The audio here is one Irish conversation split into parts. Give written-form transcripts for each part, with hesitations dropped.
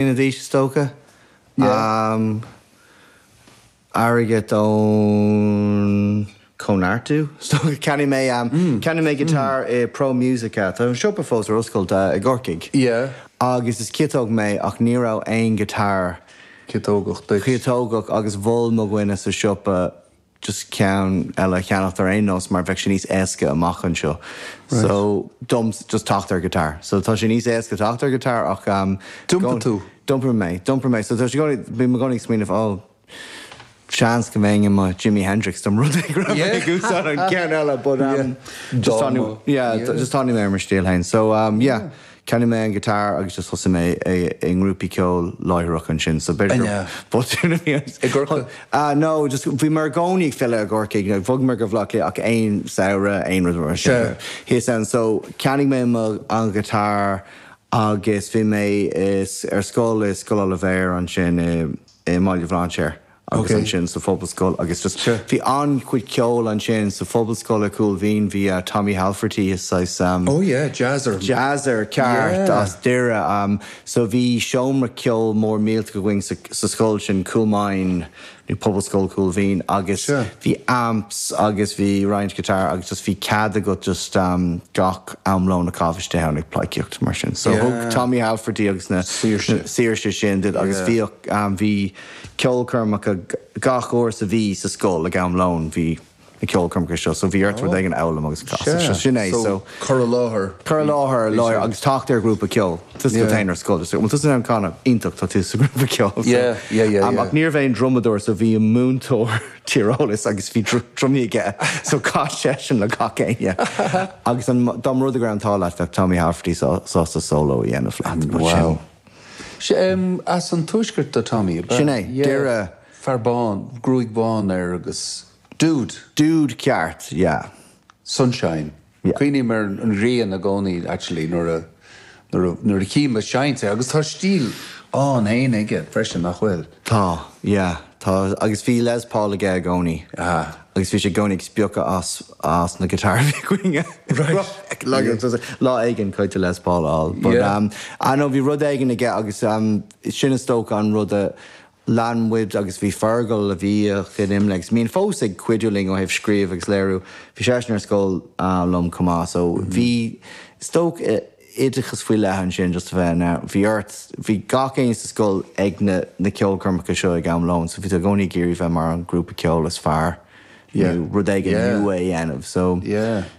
Mbliana d'aois is dócha. Airgead ón Cóineartú is dócha. Cheannaigh mé cheannaigh mé guitar i Pro Musica. Tá an siopa fós ar oscailt i gCorcaigh. Agus is ciotóg mé ach ní raibh aon guitar Ciotógach duit. Ciotógach agus mhol mo dhuine sa siopa just ceann eile a cheannacht ar aon nós mar bheadh sé níos éasca amach anseo. So dom just teacht ar guitar. So tá sé níos éasca teacht ar guitar ach um D'iompaigh tú? D'iompaigh mé, d'iompaigh mé. So tá sé i gcónaí, bím i gcónaí ag smaoineamh oh seans go mbeinn i mo Jimi Hendrix dá mba rud é go raibh mé ag úsáid an ceann eile but um just tá yeah just tháinig mé ar mo stíl féin. So um yeah. Cheannaigh mé an guitar agus just thosaigh mé i ngrúpaí ceoil láithreach ansin so b'fhéidir gur botún a bhí ann. I gCorcaigh? Ah no, just bhí mé i gcónaí ag filleadh i gCorcaigh, bhog mé go Bhaile Átha Cliath ach aon samhradh, aon rud mar sin. Thíos ann so cheannaigh mé mo an guitar agus bhí mé ar scoil i Scoil Oilibhéir ansin i i mBaile Bhlainséir agus ansin sa Phobalscoil agus just bhí an-chuid ceoil ansin sa Phobalscoil i Cúil Mhín bhí Tommy Halferty is saghas Oh yeah, jazzer. Jazzer ceart as Doire so bhí seomra ceoil mór millteach againn sa scoil sin Coolmine nó Pobalscoil Chúil Mhín agus bhí amps agus bhí roinnt guitar agus just bhí cead agat just gach am lóin a chaitheamh istigh ann ag pleidhcíocht mar sin. So thug Tommy Halferty agus na saoirse sin duit agus bhíodh bhí ceolchoirmeacha gach uair sa mhí sa scoil ag am lóin bhí na ceolchoirmeacha seo so bhí ort rud éigin a fhoghlaim agus a chasadh. So sin é so. Cur i láthair. Cur i láthair láir agus teacht ar ghrúpa ceoil. Tusa go féin ar scoil just bhfuil tusa in ann canadh? Iontach tá tú sa ghrúpa ceoil so. Yeah yeah yeah yeah. Ach ní raibh aon drumadóir so bhí an múinteoir tíreolais agus bhí drumaí aige so chaith seisean le gach éinne agus an dá mba rud é go raibh an t-ádh leat bheadh Tommy Halferty sásta solo a dhéanamh leat but sin. Wow. As an tuaisceart do Tommy, ab ea? Sin é, Doire. Fear bán, gruaig bhán air agus dude. Dude ceart, yeah. Sunshine. Yeah. Cuimhním ar an ghrian i gcónaí actually nuair a, nuair a, nuair a chím ag seinnt é agus tá stíl ann fhéin aige freisin, nach bhfuil? Tá, yeah, tá agus bhí Les Paul aige i gcónaí. Aha. Agus bhí sé i gcónaí ag spiocadh as, as na guitar a bhí againne. Right. Lá éigin caithfidh tú Les Paul a fháil. But Yeah. um, I know bhí rud éigin aige agus um, sin is dócha an rud a lean muid agus bhí Fergal a bhíodh in IMLÉ agus bíonn fós ag cuidiú linn ó thaobh scríobh agus léiriú, bhí seisean ar scoil liom chomh maith so bhí is dócha oideachas faoi leith ansin just a bheith in ann, bhí ort, bhí gach éinne sa scoil ag na na ceolchoirmeacha seo ag am lóin so bhí tú i gcónaí ag iarraidh bheith mar an grúpa ceoil is fearr nó rud éigin nua a dhéanamh so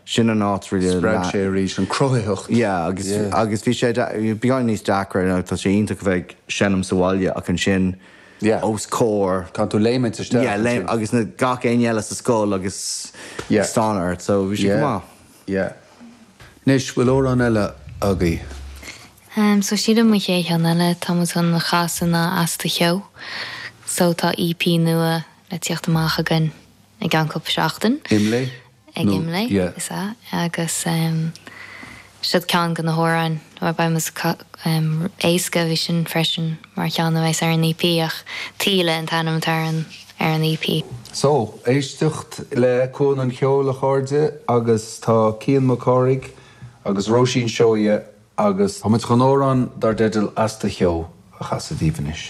sin an áit really Spreag sé arís an cruthaitheacht. Yeah agus agus bhí sé beagán níos deacra you know tá sé iontach a bheith ag seinm sa bhaile ach ansin os comhair Tá tú léimint isteach yeah léim agus na gach éinne eile sa scoil agus ag stánadh ort so bhí sé go maith. Yeah. Anois, bhfuil amhrán eile agaibh? So sílim an chéad cheann eile tá muid chun a chasadh ná As Do Cheo. So tá EP nua le tíocht amach againn i gceann cúpla seachtain. Imlé? Ag Imlé, is ea. Agus siod ceann de na hamhráin, bhuel beidh muid éasca, bhí sin freisin mar cheann a bheas ar an EP ach Taoille an t-ainm atá ar an ar an EP. So, éisteacht le Cuan an Cheoil a chairde agus tá Cian Mac Cárthaigh agus Róisín Seoighe agus tá muid chun amhrán dar dteideal As Do Cheo a chasadh daoibh anois.